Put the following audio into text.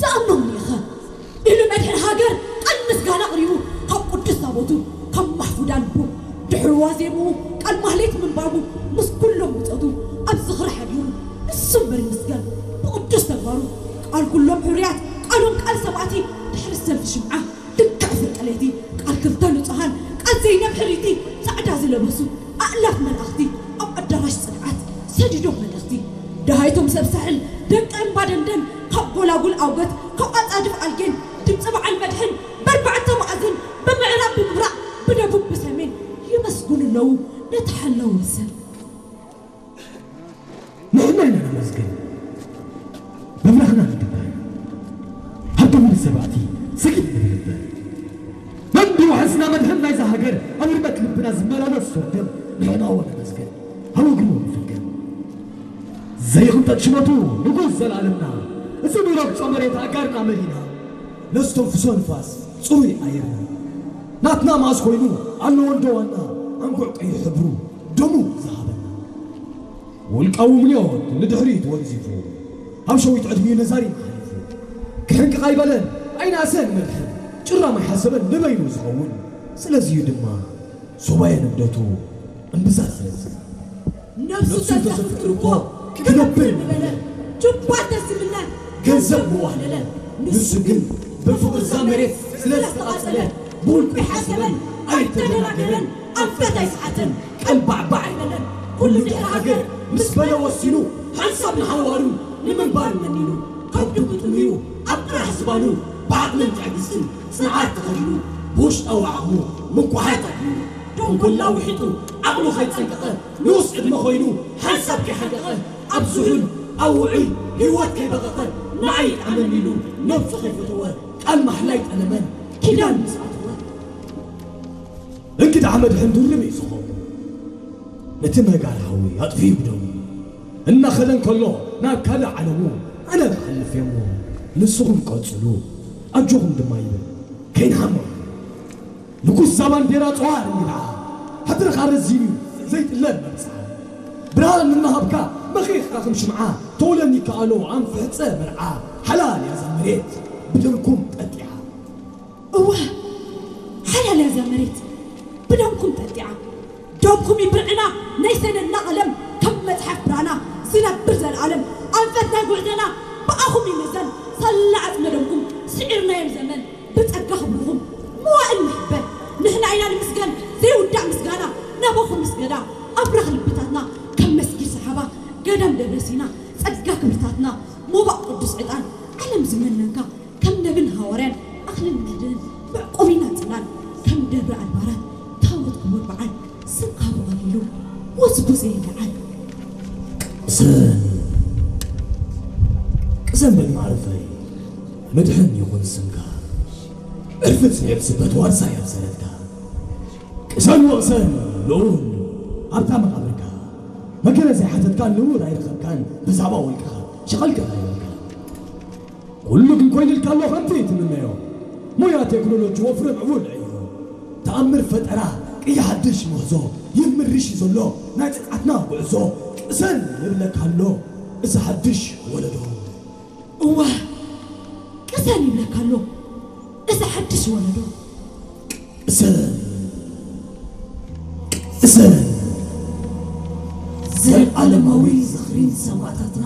ትኣምኖም ኢኻ ኢሉ መድሕን ሃገር ቃል ምስጋና ኣቕሪቡ ካብ ቅዱስ ታቦቱ ካብ ማሕፉዳ ልቡ ድሕሪ ዋዜምኡ ቃል ማህሌት ምንባቡ ምስ ኩሎም ብጾቱ ኣብ ዝኽሪ ሓዲሩ ንሱ እምበር ይምስገን ብቕዱስ ተግባሩ ቃል ኩሎም ሕሩያት ቃሎም ቃል ሰማእቲ ድሕሪ ሰልፊ ሽምዓ ልክዕ ፍርቂ ለይቲ ቃል ክልተ ንጹሃን ቃል ዘይነብ ሕሪቲ ጻዕዳ ዝለበሱ ኣእላፍ መላእኽቲ ኣብ ኣዳራሽ ጽንዓት ሰዲዶም መልእኽቲ ደሃይቶም ሰብ ሳሕል ደቂ እምባ ደንደን ካብ ጎላጉል ኣውገት ካብ ኣጻድፍ ኣልጌን ድምጺ በዓል መድሕን በርባዕተ መኣዝን ብምዕራብ ብምብራቕ ብደቡብ ብሰሜን የመስግኑ ኣለዉ ነቲ ሓላው ወሰን። ንሕና ኢና ነመስግን ብብራህና ንድበር ኣብ ግብሪ ሰባእቲ ስግድ ንብል እምበር መን ብዋሕስና መድሕን ናይዛ ሃገር ኣብ ርመት ልብና ዝመላለስ ስርግም ንሕናዎ ነመስግን ኣብ እግሩ ንፍገም ዘይቕንጠጥ ሽመቱ ንጉስ ዘላለምና እዚ ሚረግጾ መሬት ኣጋርና መሊና ነስተንፍሶ ንፋስ ጽሩይ ኣየርና ናትና መኣስ ኮይኑ ኣለዎ እንዶ ዋና ኣንጉዕ ቀይሕ ሕብሩ ደሙ ዝሃበና ውልቃዊ ምንዮት ንድሕሪት ወንዚፉ ኣብ ሸዊት ዕድሚኡ ነዛሪና ሓሊፉ ክሕንቅቕ ኣይበለን ኣይነኣሰን መድሕን ጭራም ኣይሓሰበን ንበይኑ ዝኸውን ስለዚዩ ድማ ሱባኤ ንግደቱ እምብዛ ስለዚ ነብሱ ተዘፍቅር እኮ ክነብር ምበለ ጁባ ተዝምነ ገንዘብ ምዋህለለ ንሱ ግን ብፍቕርዛ መሬት ስለ ዝተቓጸለ ብውልቁ ይሓሰበን ኣይተደናገረን ኣንፈት ኣይሰዓተን ቀልባዕባዕ ኣይበለን ኩሉ ድሕሪ ሃገር ምስ በለ ወሲኑ ሓንሳብ ንሓዋሩ ንምንባር መኒኑ ከብዱ ብጥምዩ ኣብ ጥራሕ ዝባኑ ብዓቕልን ትዕግስትን ጽንዓት ተኸዲኑ ብውሽጣዊ ዓቕሙ ምንቋሓት ኣድሚኑ ደንጎላ ውሒጡ ዓቕሉ ከይጸንቀቐ ንኡስ ዕድመ ኮይኑ ሓንሳብ ከይሓቀቐ ኣብ ዝሑል ኣብ ውዑይ ህይወት ከይበቐቐ ንዓይ ይጥዓመኒ ኢሉ ነብሱ ከይፈተወ ቃል ማሕላይ ጠለመን ኪዳን ምስ ኣተወ እንግዳ መድሕን ድርብ እዩ ዝኾኑ ነቲ ነጋር ሓዊ ኣጥፊኡ ብደሙ እናኸደ እንከሎ ናብ ካልእ ዓለሙ ኣነ ክሓልፍ እየሞ ንስኹም ቀጽሉ ኣጆኹም ድማ ይብል ከይንሓሞ ንጉስ ዛ ባንዴራ ጸዋር እንግድዓ ሕድርኻ ረዚን እዩ ዘይጥለብ መብጽዓ ብርሃን እናሃብካ መኺኽካ ከም ሽምዓ ተውለኒ ከኣሎ ኣንፍሕጸ መርዓ ሓላል እያ ዛ መሬት ብደምኩም ጠጢዓ እወ ሓላል እያ ዛ መሬት ብደምኩም ጠጢዓ ደምኩም ይብርዕና ናይ ሰነድና ቐለም ከም መጽሓፍ ብራና ዝነብር ዘለኣለም ኣንፈት ናይ ጉዕዘና ብኣኹም ይምዘን ሳላ ዓጽመ ደምኩም ስዒርናዮም ዘመን ብጸጋ ክብርኹም መዋእል ንሕበን ንሕና ኢና ንምስገን ዘይውዳእ ምስጋና ናባኹም ምስገዳ ኣብራኽ ልብታትና ከም መስጊድ ሰሓባ ገዳም ደብረ ሲና ጸጋ ክብርታትና ሞባእ ቅዱስ ዕጣን ዓለም ዝመነንካ ከም ነብን ሃዋርያን ኣኽልን መድህን መዕቆቢና ጽላል ከም ደብረ ኣድባራት ታቦት ክቡር በዓል ስምካ ብቐሊሉ ወስቡ ዘይለዓል ቅሰን ቅሰን በል ማዕርፈይ መድሕን ይኹን ስምካ ዕርፍት ንዕብስበት ዋርሳ እያ ዝሰረትካ ቅሰን ወቕሰን ልኡል ኣብታ መቓብርካ መገለ ዘይሓተትካን ንቡር ኣይረኸብካን ብዛዕባ ወልቅኻ ሸቐልካ ኣይበልካ ኩሉ ግን ኮይኑልካ ኣሎ ከምቲ ትምነዮ ሞያ ቴክኖሎጂ ወፍሪ ምዕቡል ዕዮ ተኣምር ፈጠራ ቅያ ሓድሽ ምህዞ ይምርሽ እዩ ዘሎ ናይ ጽንዓትና ጉዕዞ ቅሰን ይብለካ ኣሎ እዚ ሓድሽ ወለዶ እዋ ቅሰን ይብለካ ኣሎ እዚ ሓድሽ ወለዶ ቅሰን ቅሰን ዘለዓለማዊ ዝኽሪ ንሰማእታትና